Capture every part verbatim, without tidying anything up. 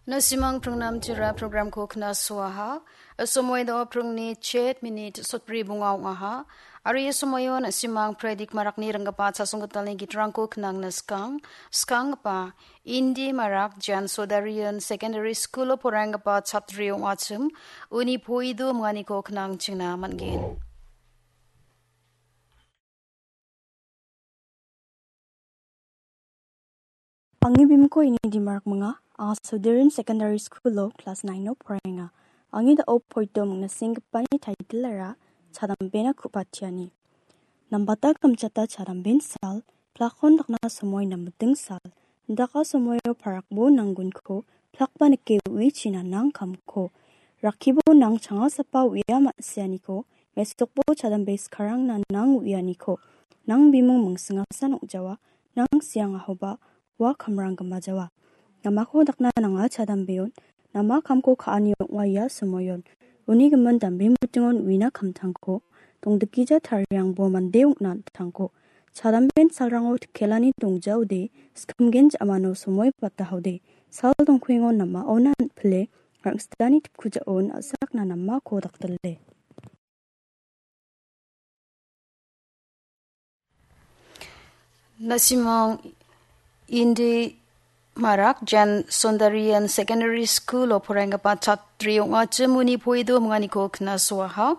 Nasimang pringnam tira programko knasoaha. Somoi do pringni chet minit sotbri bonga ong·aha. Aro ia somoion nasimang Predik Marakni ringgipa chasonggitalni gitrangko knangna skang, skanggipa Indi Marak Jan Sodarian Secondary School-o poraienggipa chatri ong·achim, uni poido minganiko knangchingna man·gen. Angni bimingko ini Dimarak minga, anga Sodarian Secondary School-o class nine-o poraenga. Angni da·o poido mingna senggipa title-ara Chadambena Ku·patiani. Nambata kamchata chadamben sal, plakon dakna somoi namiting sal, daka somoio parakbo nanggunko, plakba nike uichina nang kamko. Rakkibo nang changasapa uia ma·sianiko, mesokbo chadambe skarangna nang uianiko. Nang bimung mingsingasan ong·jawa, nang siangahoba ua kamrang gimajawa. Namako dakna nanga chadambeon, nama kamko ka·ani ong·a ia somoion. Uni gimin dambe mitingon uina kamtangko, dongdikgija tariangbo mande ong·na an·tangko. Chadamben salrango tikelani dongjaode, skimgen ja·mano somoi batahaode. Sal dongkuengo namaona an·pile, rangsitani tipkujaon a·sakna namako dakdile. Nasimang Indi Marak Jan Sundarian Secondary School-o poraienggipa chatri ong·achim uni poido minganiko knasoaha.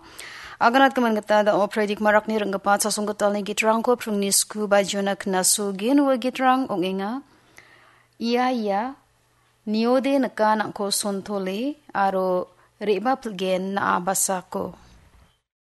Aganat gimin gita da·o Predik Marakni ringgipa chasonggitalni gitrangko pringni sku bajiona knasogen ua gitrang ong·enga. Ia ia, niode nika nangko sontole aro re·bapilgen na·a basako.